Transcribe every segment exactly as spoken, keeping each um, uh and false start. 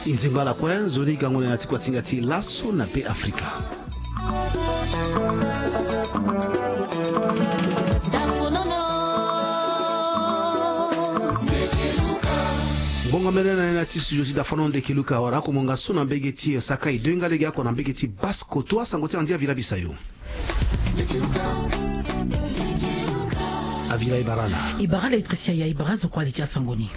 Nzengba ala kue nzoni gango na ya ti kuasinga ti laso na be afrika. Ngonga mene na ya na ti studio ti dafano ndeke luka wara ako monga so na mbege ti sakai doinga lege ako na mbege ti baskoto asango ti andia vila bisayo. Avila ibarala. Ibarala etrisia ya ibara zo kuali ti asango ni.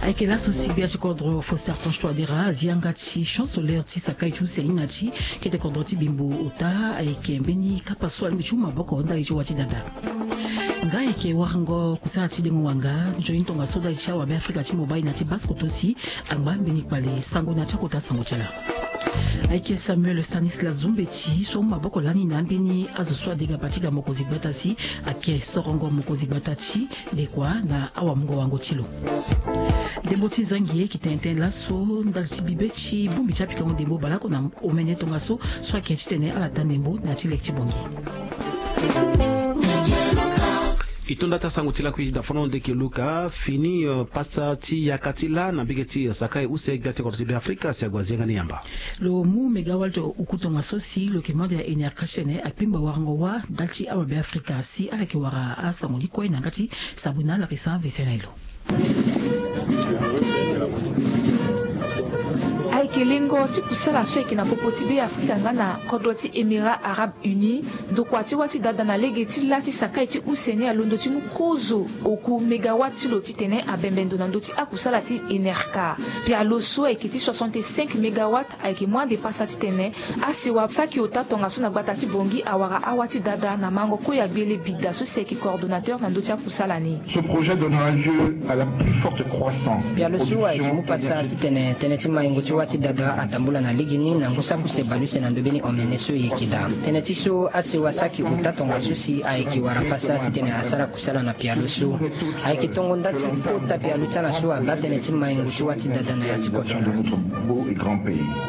Ayeke laso si bia ti kodro foster constoi adera azi yanga ti chancelier ti sakai ti use ni na ti kete kodro ti bimbo ota ayeke mbeni kapa so alingbi ti huma boko ndali ti wa ti dada. Nga ayeke warango kusala ti dengo wanga nzoni tongaso ndali ti awabe afrika ti mobai na ti baskoto si angba mbeni kpale sango na ti akota sango ti ala. Ayeke samuel stanislas zumbeti so maboko lani na ambeni azo so adega pati ga mokonzi gbata si ake sorongo mokonzi gbata ti dekua na awamungo wango ti lo. Ndembo ti zangi ye ki tene tënë laso ndali ti bibe ti bongbi ti apikango ndembo baleoko na omene tongaso so ayeke titene ala taa ndembo na ya ti leke ti bongi. E to nda ti asango ti lakui ti dafano ndeke luka fini pasa ti yaka ti lâ na mbege ti sakai use gbia ti kodro ti be afrika si ague azi yanga ni yamba. Lo mu megawalt oku tongaso si lo yeke mande aenerka ti tene akpengba warango wâ ndali ti awabe afrika si ala yeke wara asango ni kue na yanga ti sabuna larisa vese na elo. Ayeke lengo ti kusala so ayeke na popo ti be afrika nga na kodro ti émirat arabe uni. Ndokua ti wâ ti dada na lege ti lâ ti sakai ti use ni alondo ti mu kozo oku megawat ti lo titene abembe ndo na ndö ti akusala ti enerka. Pialo so ayeke ti soixante-cinq megawat ayeke mu ande pasa titene asewa saki ota tongaso na gbata ti bongi awara awâ ti dada na mango kue ya gbele bida so si ayeke coordonnateur na ndö ti akusala ni. Pialo so ayeke mu pasa titene tënë ti maingo ti wâ ti dada adambula na lege ni na ngu saki use baleuse na ndö mbeni omene so e yeke daa. Tënë ti so asewa saki ota tongaso si ayeke wara pasa titene asara kusala na pialo so. Ayeke tongo nda ti kota pialo ti ala so abaa tënë ti maingo ti wâ ti dada na ya ti kodro.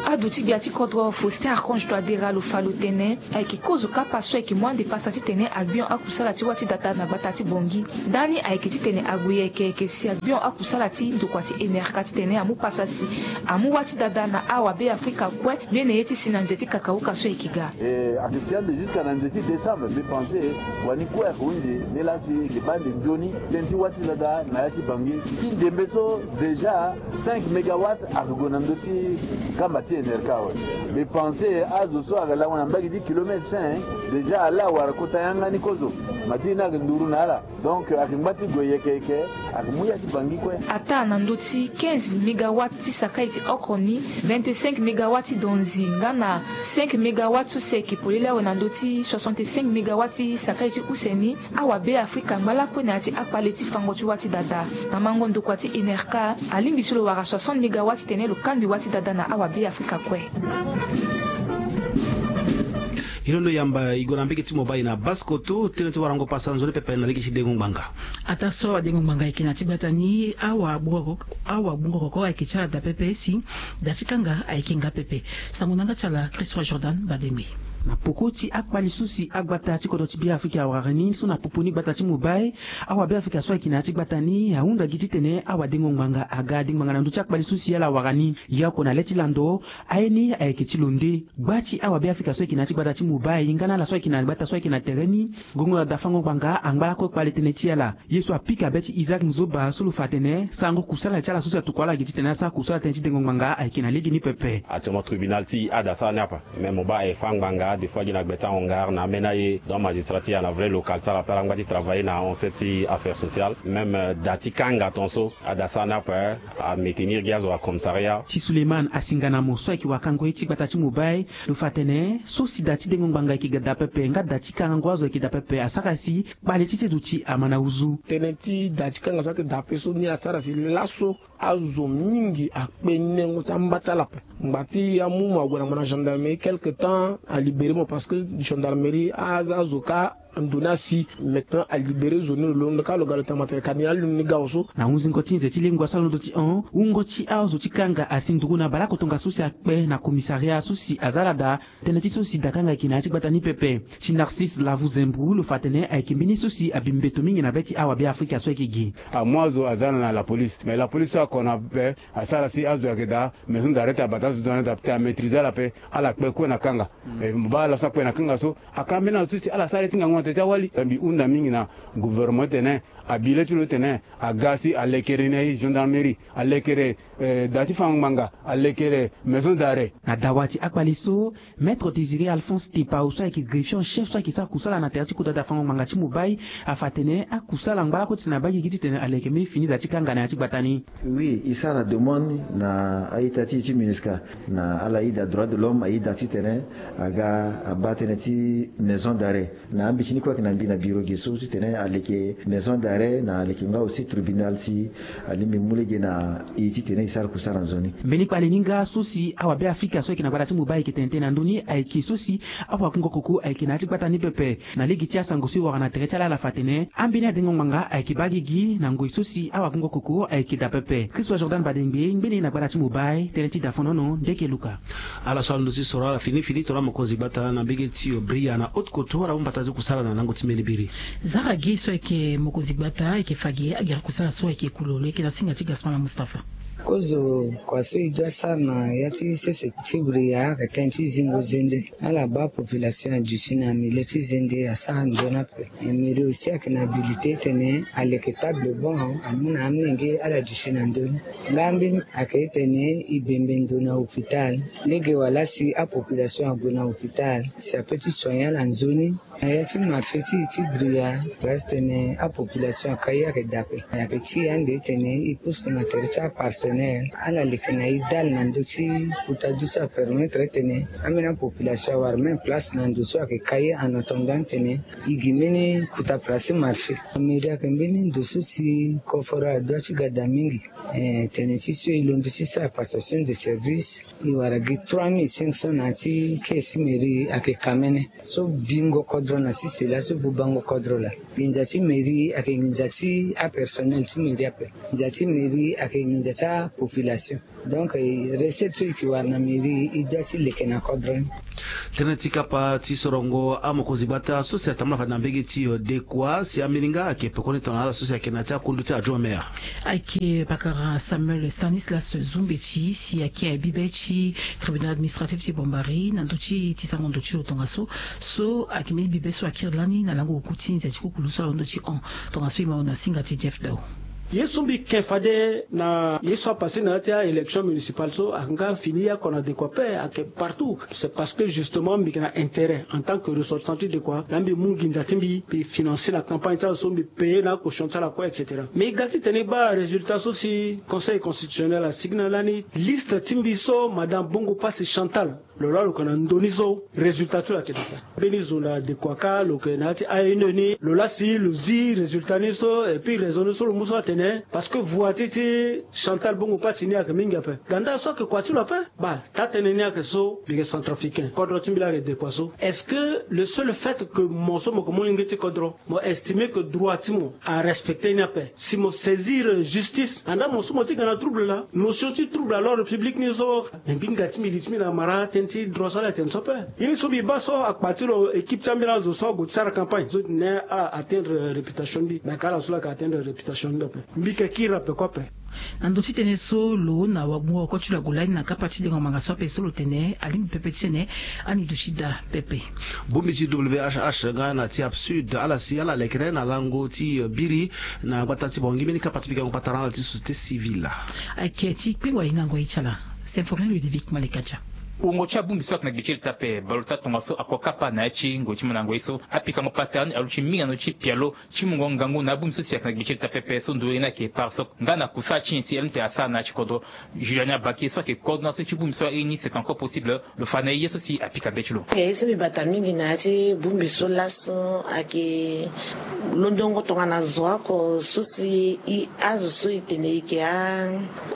Ado ti gbia ti kodro faustin archange toadera lo fa lo tene ayeke kozo kapa so ayeke mu ande pasa titene agbion akusala ti wâ ti dada na gbata ti bongi. Ndani ayeke titene ague yeke yeke si agbion akusala ti ndokua ti enerka titene amu pasa si amu wâ ti dada na awabe afrika kue. Mbeni ye ti si na nze ti kakauka so ayeke ga. Ayeke si ande jusque na nze ti décembre mbi pense wani kue ayeke hunzi. Ni lasi ayeke baa ande nzoni tënë ti wâ ti dada na ya ti bangi ti ndembe so déjà cinq mégawat ayeke gue na ndö ti kamba ti enerka awe. Mbi pense azo so ayeke lango na mbage ti kilomètre cinq déjà ala wara kota yanga ni kozo. Ma ti ye ni ayeke nduru na ala. Donc ayeke ngba ti gue yeke yeke. Ayeke mu ya ti bangi kue. Ataa na ndö ti quinze mégawat ti sakai ti oko ni, vingt-cinq mégawat ti donzi nga na cinq mégawat so si ayeke polele awe na ndö ti soixante-cinq mégawat ti sakai ti use ni. Awabe afrika ngba lakue na ya ti akpale ti fango ti wâ ti dada na mango ndokua ti enerka. Alingbi so lo wara soixante mégawat titene lo kangbi wâ ti dada na awabe afrika kue. E londo yamba e gue na mbege ti mobali na baskoto tënë ti warango pasa nzoni pepe na lege ti dengo ngbanga. Ataa so awadengo ngbanga ayeke na ya ti gbata ni awagbongokoko ayeke ti ala daa pepe si daa ti kanga ayeke nga pepe. Sango na yanga ti ala christoi jordan badembe. Na poko ti akpali so si agbata ti kodro ti beafrika awara ni so na popo ni gbata ti mobali, awabeafrika so ayeke na ya ti gbata ni ahunda gi titene awadengo ngbanga aga adengo ngbanga na ndö ti akpali so si ala awara ni. Yaoko na le ti lando aye ni ayeke ti lo nde. Gba ti awabeafrika so ayeke na ya ti gbata ti mobali nga na ala so ayeke na gbata so ayeke na tere ni. Gongo na dafango ngbanga angba lakue kpale tënë ti ala. Ye so apika be ti isaac nzoba so lo fa atene sango kusala ti ala so si atokua ala gi titene asara kusala tënë ti dengo ngbanga ayeke na lege ni pepe. Actuellement tribunal ti ada sara ni apa. Mais mo baa aye fa ngbanga des fois gi na gbe ti ahongar na ambeni aye donc magistrat ti ya na vrai local ti ala pe ala ngba ti travailler na ancet ti affaire sociale même da ti kanga ton so ada sara ni apa. Amétenir gi azo na commissariat. Ti suleiman asinga na mo so ayeke wakango ye ti gbata ti mobile. Lo fa atene so si da ti dengo ngbanga ayeke ga da pepe nga da ti kangango azo ayeke da pepe asara si kpale ti seduti ama na uzu. Tënë ti da ti kanga so ayeke da ape so ni asara si laso azo mingi akpe nengo ti amba ti ala ape. Ngba ti amu mo ague na mo na gendarmerie quelque temps alibéré mo parce que gendarmerie aza azo ka. Ndo ni asi maintenant alibéré zo ni lo londo kâ lo ga lo tambata tene ka ni alundu ni gao so. Na hunzingo ti nze ti lengo asara londo ti hon wungo ti azo ti kanga asi nduru na baleoko tongaso si akpe na commissariat so si aza ala daa. Tënë ti so si dakanga ayeke na ya ti gbata ni pepe. Ti Narcisse Lavuzembru lo fa atene ayeke mbeni so si abi mbeto mingi na be ti awabe afrika so ayeke gi. Amu azo aza na la police mais la police so ako na be asara si azo ayeke daa. Maison d'arrêt ti abata azo ti zo na daa ti amaîtrisé ala pe. Ala kpe kue na kanga. Mo baa ala so akpe na kanga so aka mbeni azo so si ala sara ye ti ngangu na tere ti awali. Mbi hunda mingi na gouvernement ti tene abi le ti lo ti tene aga si alekere ni aye gendarmerie, alekere da ti fango ngbanga, alekere maison d'arrêt. Na dawa ti akpale so, maître Désiré Alphonse Tepao so ayeke greffier en chef so ayeke sara kusala na tere ti kota da fango ngbanga ti Mobay afa atene akusala ngbalako ti tene abaa gigi ti tene aleke mbeni fini da ti kanga na ya ti gbata ni. Oui, e sara demande na a-ita ti e ti MINUSCA na ala ida droit de l'homme aida ti tene aga abaa tënë ti maison d'arrêt. Na ambeti ni kue ayeke na mbi na biro ge so ti tene aleke maison d'arrêt na aleke nga aussi tribunal si alingbi mu lege na e ti tene e sara kusara nzoni. Mbeni kpale ni nga so si awabe afrika so ayeke na gbata ti Mobay ayeke tene tënë na ndö ni ayeke so si awakungo koko ayeke na ya ti gbata ni pepe. Na lege ti asango so e wara na tere ti ala ala fa atene ambeni adengo ngbanga ayeke baa gigi na ngoi so si awakungo koko ayeke daa pepe. Christophe Jordan Badengbe ngbene na gbata ti Mobay tënë ti dafonono ndeke luka. Ala so alondo ti soro ala fini fini tongana mokonzi gbata na mbege ti Bria na haute couture ala mu mbata ti kusala na lango ti mbeni biri. Zara ge so ayeke mokonzi gbata ayeke fa ge agere kusala so ayeke kulo lo yeke na singa ti Gaspard na Mustapha. Kozo kua so e dua sara na ya ti sese ti Bria ayeke tënë ti zingo zende. Ala baa population aduti na milieu ti zende asara nzoni ape. Mairie aussi ayeke na habilité ti tene aleke table banc amu na amolenge ala duti na ndö ni. Nga ambeni ayeke ti tene e bembe ndo na hôpital lege wala si apopulation ague na hôpital si ape ti soigner ala nzoni. Na ya ti marché ti e ti Bria place ti tene apopulation akai ayeke daa ape. Ayeke ti e ande ti tene e pousse na tere ti apartenaire ala leke na e dale na ndö ti kota du so apermettre ti tene ambeni apopulation awara même place na ndo so ayeke kai en attendant ti tene e gi mbeni kota place ti marché. Mairie ayeke mbeni ndo so si koforo adua ti gada mingi. Eh, tene ti so e londo ti sara passation de service. E wara gi trois mille cinq cents na ya ti caisse ti mairie ayeke kamene so bingo kodro na sese laa so bubango kodro laa. Nginza ti mairie ayeke nginza ti apersonnel ti mairie ape. Nginza ti mairie ayeke nginza ti apopulation. Donc eh, recette so e yeke wara na mairie e dua ti leke na kodro ni. Tënë ti kapa ti sorongo amokonzi gbata so si atambula fade na mbege ti eh, dekua si ambeni nga ayeke pekoni tongana ala so si ayeke na ya ti akundu ti adjoint maire. Ayeke pakara Samuel Stanislas Zumbeti si ayeke aye bibe ti tribunal administratif ti Bambari na ndö ti ti sango ndo ti lo tongaso. So ayeke mbeni bibe so akiri lani na lango oku ti nze ti kukulu so alondo ti hon. Tongaso e ma lo na singa ti Jeff Dao. Ye so mbi ke fade na ye so apase na ya ti a-élection municipale so ayeke nga fini ye oko na dekua ape ayeke partout. C'est parce que justement mbi yeke na intérêt en tant que ressortissant ti dekua laa mbi mu nginza ti mbi mbi financer na campagne ti ala so mbi payer na acaution ti ala kue et cetera. Mais e ga ti tene e baa résultat so si conseil constitutionnel asigi na lani liste ti mbi so madame Bongo Pasi Chantal. Lo laa lo yeke na ndö ni so résultat ti lo ayeke daa ape. Mbeni zo na dekua kâ lo yeke na ya ti a-une ni lo laa si lo zi résultat ni so et puis raison ni so lo mu so atene parce que voix ti ti Chantal Bongo Pasi ni ayeke mingi ape. Ganda so ayeke kua ti lo ape. Baa taa-tënë ni ayeke so mbi yeke centrafricain kodro ti mbi laa ayeke dekua so. Est-ce que le seul fait que mo so mo yeke molenge ti kodro mo estimer que droit ti mo arespecter ni ape? Si mo saisir justice andaa mo so mo ti ga na trouble laa notion ti trouble à l'ordre public ni so. Me mbi nga ti mbi li ti mbi na mara tënë ti droit so ala tene so ape. Ye ni so mbi baa so akpa ti lo équipe ti ambeni azo so ague ti sara campagne so ti tene ala atteindre réputation ni mbi me ayeke ala so laa ayeke atteindre réputation ni mbi ape. Mbi yeke kiri ape kue ape. Na ndo ti tënë so lo na wagbungo oko ti lo ague lani na kapa ti dengo ngbanga so ape so lo tene alingbi pepe ti tene ani duti daa pepe. Bongbi ti whh nga na ti absud ala si ala lekere na lango ti biri na gbata ti bongi mbeni kapa ti pikango patara ala ti société civile. Ayeke ti kpengwa hingango ye ti ala. Symphorien Ludovic Malekacha. Wungo ti abongbi so ayeke na gbe ti leta ape baleota tongaso ako kapa na ya ti ngoi ti mandango ye so apikango patara ni aluti mingi na ndö ti pialo ti mungo ngangu na abongbi so si ayeke na gbe ti leta pepe so nduru ye ni ayeke pare so nga na kusala ti nyen si lmta asara na ya ti kodro. Juliani Abake so ayeke coordonnateur ti bongbi so airi ni c'est encore possible. Lo fa na e ye so si apika be ti lo. Ye so mbi bata mingi na ya ti bongbi so laso ayeke londongo tongana zo oko so si e azo so e tene e yeke a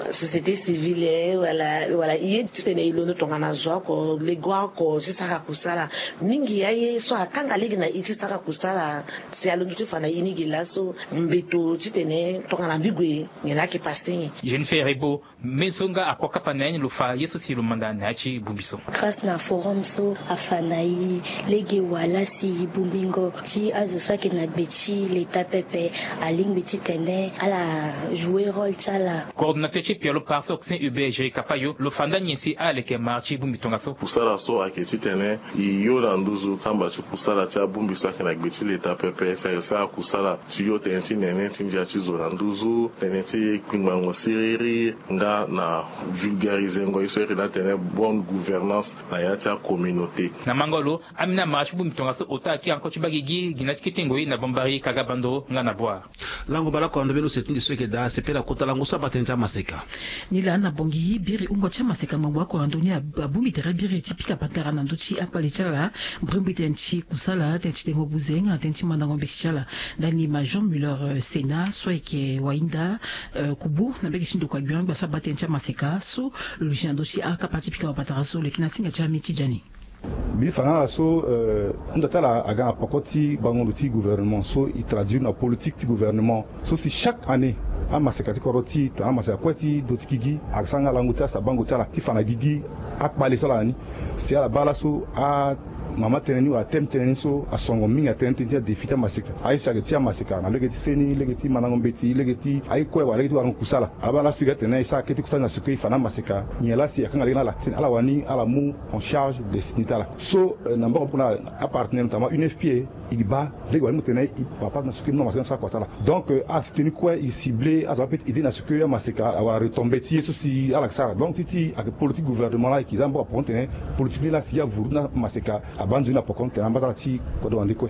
société civile wala wala e ye ti tene e londo tongana Zo oko lego oko ti sara kusala. Mingi aye so akanga lege na e ti sara kusala. Si alondo ti fa na e ni gi laso mbeto titene tongana mbi gue nyen ayeke pase ni. Jeune Ferre Ebo, me so nga akua kapa na ya ni lo fa ye so si lo manda na ya ti bongbi so. Grâce na forum so afa na e lege wala si e bongbingo ti azo so ayeke na gbe ti leta pepe. Alingbi titene ala jouer rôle ti ala. Coordonnateur ti pialo Parti Occitan Hubert Jerry Kapayo lo fa nda nyen si ala leke mara ti bongbi tongaso. Kusala so ayeke titene e yo na nduzu kamba ti kusala ti abongbi so ayeke na gbe ti leta pepe si ayeke sara kusala ti yo tënë ti nene ti ndia ti zo na nduzu, tënë ti kpingbango siriri nga na vulgarizengo ye so ayeke na tënë bonne gouvernance na ya ti acommunauté. Na mango lo, ambeni amara ti bongbi tongaso ota akiri encore ti baa gigi gi na ti kete ngoi na Bambari, Kaga, Bandoro nga na Bouar. Lango bale oko na ndö mbeni use ti nde so ayeke daa sepela kota lango so abaa tënë ti amaseka. Nilaa na Bangui, biri hungo ti amaseka ngbangbo oko na ndö ni abongbi tere biri ti pika patara na ndö ti akpale ti ala, mbrimbri tënë ti kusala, tënë ti dengo buze nga na tënë ti mandango mbeti ti ala. Ndani ma Jean Muller, eh, Sena so ayeke wahinda, eh, kubu na mbege ti ndokua gbia angba so abaa tënë ti amaseka so lo luti na ndö ti akapa ti pika patara so lo yeke na singa ti ami ti jani. Mbi fa na ala so, eh, hunda ti ala aga na poko ti bango ndo ti gouvernement so e traduire na politique ti gouvernement so si chaque année amaseka ti kodro ti tongana amaseka kue ti do ti gigi asara nga lango ti asabango ti ala ti fa na gigi akpale so ala na ni. Si ala baa laso amama tënë ni wala thème tënë ni so asongo mingi atënë ti tënë ti adéfi ti amaseka. Aye so ayeke ti amaseka na lege ti seni, lege ti mandango mbeti, lege ti aye kue wala lege ti warango kusala. Abaa laso e ga tene e sara kete kusala na seko e fa na amaseka nyen laa si akanga lege na ala titene ala wani ala mu en charge destine ti ala. So, eh, na mbongo poko na apartenaire notamment U N F P A, e gi baa lege wala e mu tene e papa na seko e mu na amaseka ni sara kua ti ala. Donc, eh, a soutenir kue, e cibler azo ape ti aider na seko amaseka awara retombée ti ye so si ala sara. Donc ti ti ayeke politique gouvernement laa e yeke za mbongo poko titene politique ni laa si avuru na amaseka abaa nzoni na poko titene amba ti ala ti kodro wande kue.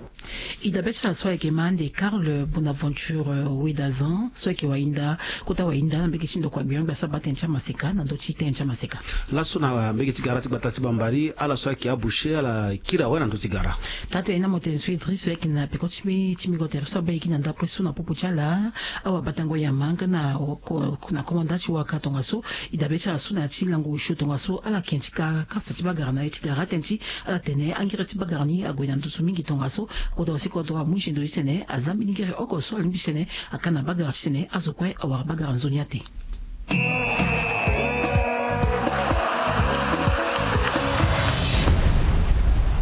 E dabe ti ala so ayeke ma ande Karl Bonaventure, eh, Wedazan so ayeke wahinda kota wahinda na mbege ti ndokua gbia angba so abaa tënë ti amaseka na ndö ti tënë ti amaseka. Laso na mbege ti gara ti gbata ti Bambari, ala so ayeke aboucher ala kiri awe na ndö ti gara. Taa tënë ni na mo tene so Idriss so ayeke na peko ti mbi ti mingo tere so abaa e gi na ndapre so na popo ti ala. Awabatango yama nga na ko- na komanda ti waka tongaso. E dabe ti ala so na ya ti lango osio tongaso ala yeke ti ka kasa ti bagara na ye ti gara tënë ti ala tene angere ti bagara ni ague na nduzu mingi tongaso. Kodro si kodro amu zendo titene aza mbeni ngere oko so alingbi titene aka na bagara titene azo kue awara bagara nzoni ate.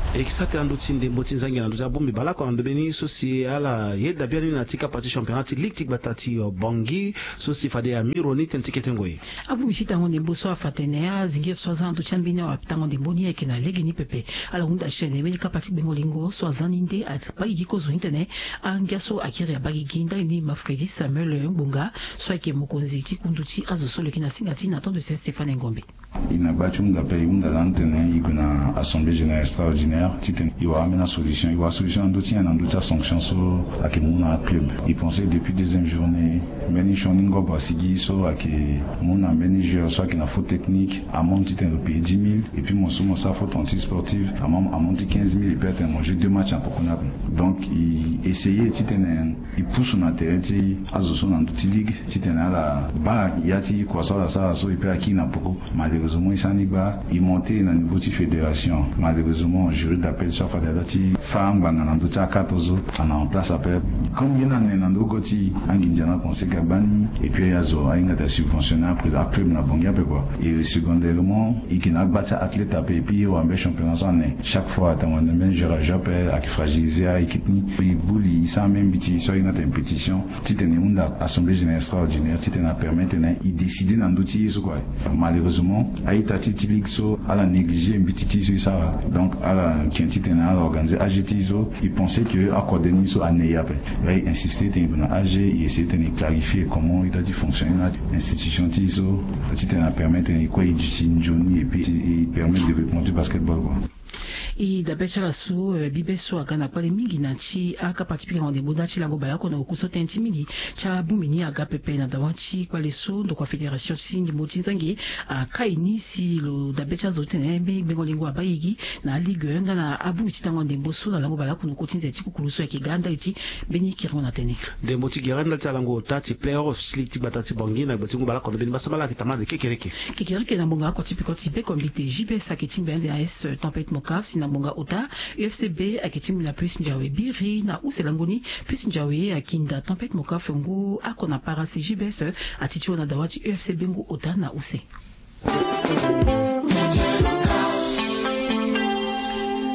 E yeke sara tënë na ndö ti ndembo ti nzangi na ndö ti abongbi baleoko na ndö mbeni so si ala yeda biani na ti kapa ti championnat ti ligue ti gbata ti, eh, Bangui so si fade amiro ni tënë ti kete ngoi. Abongbi ti tango ndembo so afa tene azingiri so aza na ndö ti ambeni awatango ndembo ni ayeke na legeni pepe. Ala hunda titene mbeni kapa ti gbengo lingo so aza ni nde abaa gigi kozo ni titene angia so akiri abaa gigi ndali ni ma Fredi Samuel Ngbonga so ayeke mokonzi ti kundu ti azo so lo yeke na singa ti Nathan de Saint Stéphane Ngombe. E na gba ti hunda ape, e hunda lani tene e gue na assemblée générale extraordinaire titene e wara ambeni asolution, e wara solution na ndö ti nyen? Na ndö ti asanction so ayeke mu na aclub. E pense depuis deuxième journée mbeni sioni ngobo asigi so ayeke mu na mbeni joueur so ayeke na faute technique, amende titene lo paye dix mille, et puis mo so mo sara faute anti sportive, amende ti quinze mille, et puis atene mo joue deux matchs na poko ni ape. Donc e essayer titene e pusu na tere ti azo so na ndö ti ligue titene ala baa ya ti kua so ala sara so, et puis akiri na poko. Malheureusement e sara ni gba, e monte na niveau ti fédération. Malheureusement jury d'appel so afade aza ti fâ ngbanga na ndö ti akate so ana en place ape. Comme ye ni ane na ndö go ti anginza na conseil ka gbani, et puis azo ahinga ta subventionner après aclub na Bangui ape kua. Et secondairement e yeke na agba ti athlète ape, et puis e wara mbeni championnat so ane. Chaque fois atene wande mbeni joueur ajoue ape, ayeke fragiliser a équipe ni. E buli e sara mbeni mbeti so ahinga ta pétition titene e hunda assemblée générale extraordinaire titene apermettre tene e décider na ndö ti ye so kua. Malheureusement a-ita ti e ti ligue so ala négliger mbeti ti e so e sara. Donc ala tien titene ala organiser A G ti e so. E pense que akode ni so ane e ape. Là e insister titene e gue na A G, e essayer titene e clarifier comment e doit ti fonctionner na institution ti e so titene apermettre titene e kue e duti nzoni, et puis e permettre développement ti basketball kua. E dabe ti ala so bibe so aga na kpale mingi na ti akapa ti pikango ndembo nda ti lango baleoko na oku so tënë ti mingi ti abongbi ni aga pepe na dawa ti kpale so ndokua fédération ti ndembo ti nzangi akai ni si lo dabe ti azo ti tene mbeni gbengo lingo abaa igi na aligue nga na abongbi ti tango ndembo so na lango baleoko na oku ti nze ti kukulu so ayeke ga ndali ti mbeni kiringo na tënë. Ndembo ti gere ndali ti alango ota ti playoff ti ligue ti gbata ti bongi na gbe ti ngu baleoko na mbeni mbasambala ayeke tamande kekereke. Kekereke na ngbonga oko ti peko ti beko mbite jbs ayeke ti ngbe ande na es tempête mokaf si na ngbonga ota ufcb ayeke ti ngbe na plus njawe biri na use lango ni. Plus njawe akinda tempête mokaf ngu oko na parasi jbs ati ti wa na dawa ti ufcb ngu ota na use.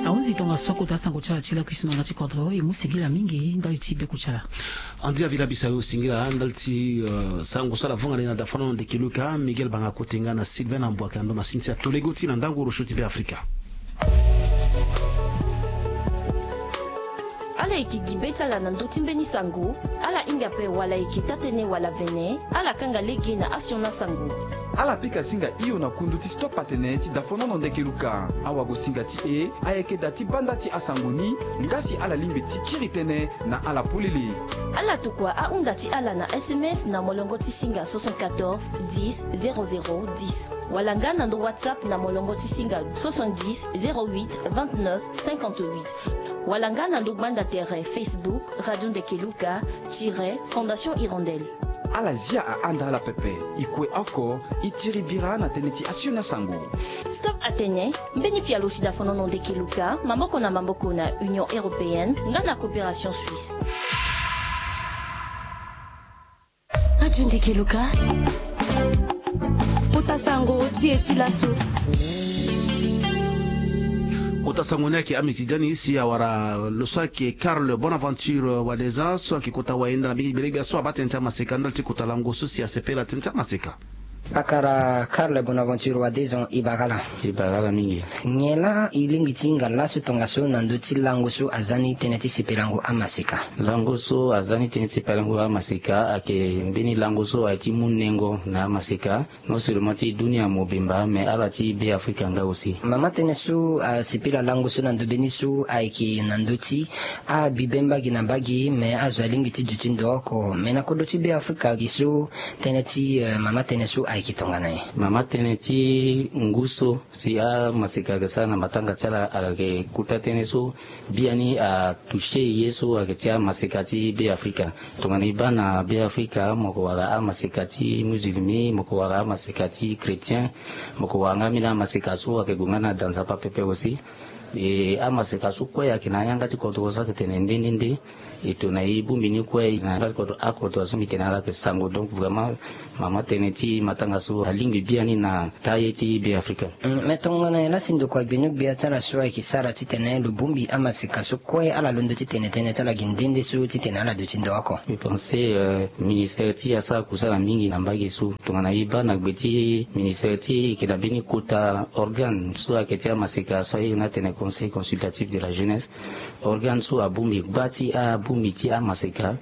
Ahunzi tongaso kota sango ti ala ti lakui so na nga ti kodro e mu singila mingi ndali ti beko ti ala. Andi avila bisa yo singila ndali ti sango so ala vanga ni na dafono ndeke luka miguel banga kotenga na sylvain na mbwaka ndo masini ti atolego ti na ndango rocho ti be afrika. Ala yeke gi be ti ala na ndö ti mbeni sango. Ala hinga ape wala ayeke taa-tënë wala vene. Ala kanga lege na asioni asango. Ala pika singa hio na kundu ti stop atene ti dafonono ndeke luka. Awagosinga ti e ayeke daa ti baa nda ti asango ni. Nga si ala lingbi ti kiri tënë na ala polele. Ala tokua ahunda ti ala na sms na molongo ti singa soixante-quatorze dix zéro zéro dix wala nga na ndo whatsapp na molongo ti singa soixante-dix zéro huit vingt-neuf cinquante-huit wala nga na ndo gbanda tere facebook radio ndeke luka tire fondation hirondelle. Ala zia ahanda ala pepe. E kue oko e tiri bira na tënë ti asioni asango. Stop atene mbeni pialo ti dafonono ndeke luka maboko na maboko na union européenne nga na coopération suisse. Radio ndeke luka. Kota sango ti e ti laso. Kota sango ni ayeke ami ti dani si awara lo so ayeke carl bonaventure wadeza so ayeke kota wayenda na mbeni gbelegbia so abaa tënë ti amaseka ndali ti kota lango so si asepela tënë ti amaseka. Pakara carl bonaventure wadeza e bara ala. E bara ala mingi. Nyen laa e lingbi ti hinga laso tongaso na ndö ti lango so aza ni tënë ti sepelango amaseka? Lango so aza ni tënë ti sepelango amaseka ayeke mbeni lango so aye ti mu nengo na amaseka. Non seulement ti dunia mobimba mais ala ti be afrika nga aussi. Mama tënë so asipila lango so na ndö be ni so ayeke na ndö ti abibe mbage na mbage mais azo alingbi ti duti ndo oko mais na kodro ti be afrika gi so tënë ti mama tënë so ayeke tongana nyen? Mama tënë ti ngu so si amaseka ayeke sara na matanga ti ala ayeke kota tënë so biani atoucher ye so ayeke ti amaseka ti be afrika. Tongana e baa na be afrika mo yeke wara amaseka ti musulmi mo yeke wara amaseka ti chrétien mo yeke wara nga ambeni amaseka so ayeke gue nga na da nzapa pepe aussi. E amaseka so kue ayeke na ayanga ti kodro so ayeke tene nde nde nde. E tongana e bongbi ni kue na yanga ti kodro akodro so mbi tene ala yeke sango donc vraiment mama tënë ti matanga so alingbi biani na taa ye ti be afrika. Mais tongana nyen laa si ndokua gbenu-gbia ti ala so ayeke sara titene lo bongbi amaseka so kue ala londo titene tënë ti ala gi nde nde so titene ala duti ndo oko? Mbi pense ministere ti e asara kusala mingi na mbage so tongana e baa na gbe ti ministere ti e e yeke na mbeni kota organe so ayeke ti amaseka so aye na atene conseil consultatif de la jeunesse. Organe so abongbi gba ti abongbi ti amaseka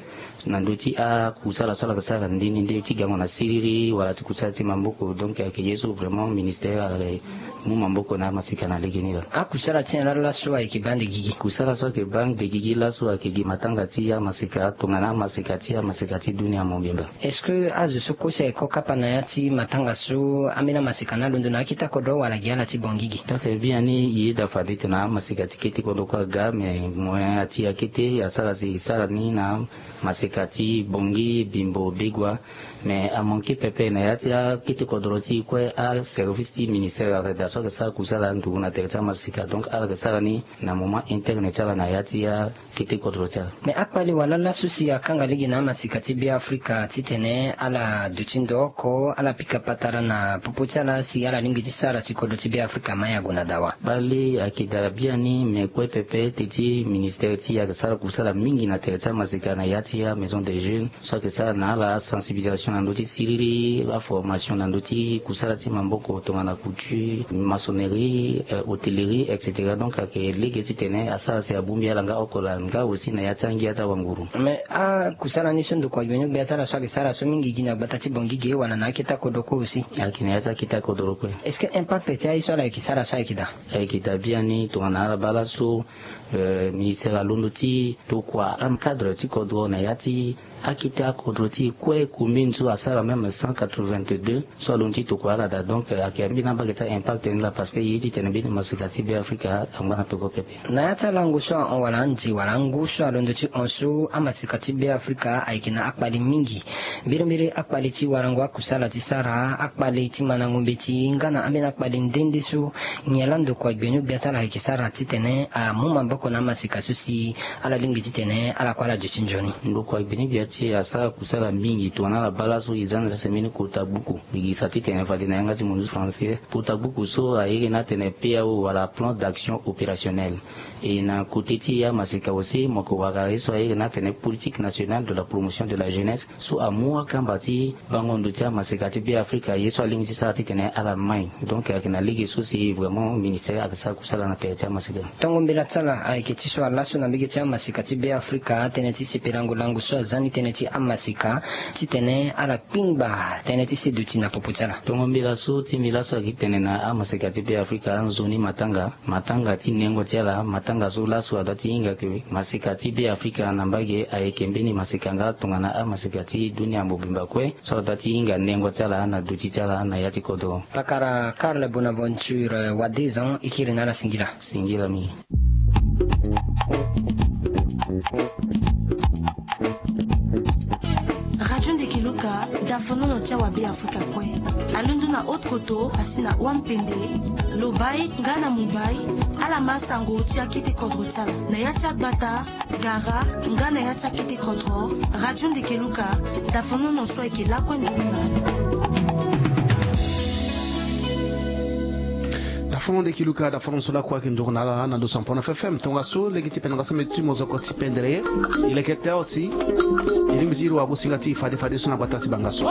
na ndö ti akusala so ala yeke sara nde nde nde ti gango na siriri wala ti kusala ti maboko donc ayeke ye so vraiment ministere ala mu maboko na amaseka na legeni laa. Akusala ti nyen laa laso ayeke baa nde gigi? Kusala so ayeke baa nde gigi laso ayeke gi matanga ti amaseka tongana amaseka ti amaseka ti dunia mobimba. Est-ce que azo so kue si ayeke kapa na ya ti matanga so ambeni amaseka ni alondo na akete akodro wala gi ala ti bongi gi? Taa-tene biani e yeda fade tena amaseka ti kete kodro kue aga mais moyen ati akete asara si e sara ni na maseka ti bongi bimbo begua. Mais amanke pepe na ya ti akete kodro ti e kue aservice ti ministere ayeke daa so ayeke sara kusala nduru na tere ti amaseka donc ala yeke sara ni na moment interne ti ala na ya ti akete kodro ti ala. Mais akpale wala laso si akanga lege na amaseka ti be afrika titene ala duti ndo oko ala pika patara na popo ti ala si ala lingbi ti sara si kodro ti be afrika ma ya gue na dawa? Kpale ayeke daa biani mais kue pepe ete ti ministere ti e ayeke sara kusala mingi na tere ti amaseka na ya ti amaison des jeunes so ayeke sara na ala asensibilisation. na ndö ti siriri, aformation na ndö ti kusala ti maboko tongana couture, maçonnerie, hotellerie, et cetera. Donc ayeke lege titene asara si abongbi ala nga oko laa nga aussi na ya ti angia ti awanguru. Mais akusala ni so ndokua gbeni gbia ti ala so ayeke sara so mingi gi na gbata ti bongi ge wala na akete akodro kue aussi? Ayeke na ya ti akete akodro kue. Est-ce que impact ti aye so ala yeke sara so ayeke daa? Ayeke daa biani tongana ala baa laso ministère alondo ti tokua ancadre ti kodro na ya ti akete akodro ti e kue, commune so asara même cent quatre-vingt-deux so alondo ti tokua ala daa. Donc ayeke ambeni abage ti aimpact ni laa parce que ye titene mbeni masika ti Beafrika angba na peko pepe. Na ya ti alango so ahon wala ande wala angu so alondo ti hon so amasika ti Beafrika ayeke na akpali mingi. Mbirimbiri akpali ti warango akusala ti sara, akpali ti mandango mbeti nga na ambeni akpali nde nde so nyen laa ndokua gbeni gbia ti ala ayeke sara titene amu maboko na amasika so si ala lingbi titene ala kue ala duti nzoni? Ndokua gbeni gbia ti e asara kusala mingi tongana ala baa laso e za na sese mbeni kota gbuku. Mbi gi sa titene fade na yanga ti munzu français, kota gbuku so airi ni atene P A O wala plan d'action opérationnel. E na kote ti amasika aussi mo yeke wara ye so airi ni atene politique nationale de la promotion de la jeunesse so amu akamba ti bango ndo ti amasika ti Beafrika ye so alingbi ti sara titene ala mai. Donc ayeke na lege so si vraiment ministère ayeke sara kusala na tere ti amasika. Tongo mbela ti ala ayeke ti so ala laso na mbege ti amasika ti Beafrika tënë ti sepelango lango so aza ni tënë ti amasika titene ala kpingba tënë ti seduti na popo ti ala. Tongo mbela so ti mbi laso ayeke tene na amasika ti Beafrika nzoni matanga, matanga ti nengo ti ala, matanga so laso adua ti hinga ke masika ti Beafrika na mbage ayeke mbeni masika nga tongana amasika ti dunia mobimba kue so adua ti hinga nengo ti ala na duti ti ala na ya ti kodro. Pakara Karl Bonaventure Wadezan, e kiri na ala singila. Singila mingi. Radio Ndeke Luka, dafonono ti awa Beafrika kue. Alondo na haute koto asi na wampende, lobai nga na mobai, ala ma sango ti akete kodro ti ala na ya ti agbata, gara nga na ya ti akete kodro. Radio Ndeke Luka, dafonono so ayeke lakue nduru na ala. Dafonono Ndeke Luka, dafonono so lakue ayeke nduru na ala na ndo sampono F F M. Tongaso lege ti pene nga sambeti ti mozoko ti pendere. E leke te oti. E lingbi ti iri wagosinga ti e fade fade so na gbata ti bangaso.